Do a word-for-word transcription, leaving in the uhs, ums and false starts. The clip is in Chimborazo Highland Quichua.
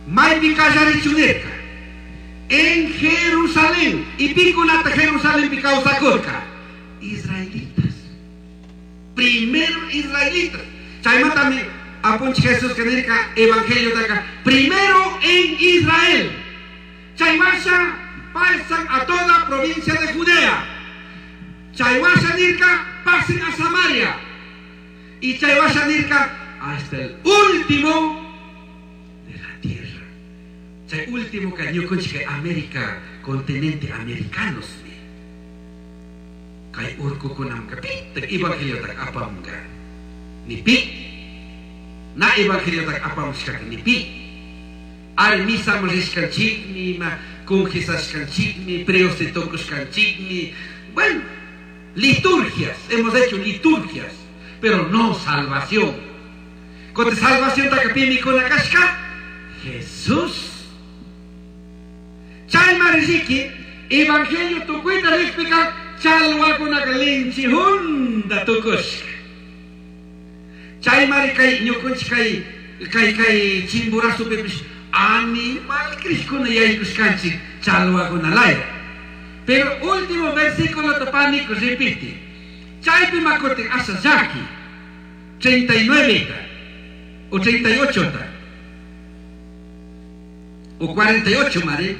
Maypi kallarichun nirka. En Jerusalén. Y pikunata Jerusalénpi kawsakurka. Israelitas. Primero israelitas. Chaymantami apunchik Jesús que nirka evangeliotaka. Primero en Israel. Chaywasha pasan a toda provincia de Judea. Chaywasha nirka pasen a Samaria. Y chaywasha nirka hasta el último de la tierra. Chay último que ñukunchik América, continente americanos. Kay urkukunamka pitaq evangeliotaka apamunka. Ni pi. Na evangeliotaka apamushkaka ni pi. Ari misaman rishkanchikmi, ma confesashkanchikmi, preoste tukushkanchikmi. Bueno, liturgias, hemos hecho liturgias, pero no salvación. Kote salvación taka pimi kashka, Jesús. Chaymari riki, evangelio tukuyta rikpika, chalwakunaka linchi hunda tukushka. Chaymari kay ñukunchik kay kay kay Chimborazopipish animal krishkuna yaykushkanchik chalwakunalaya. Pero último versículo paniku repite. Chaypi makutin asha llaki. treinta y nueve o treinta y ocho o cuarenta y ocho, mari.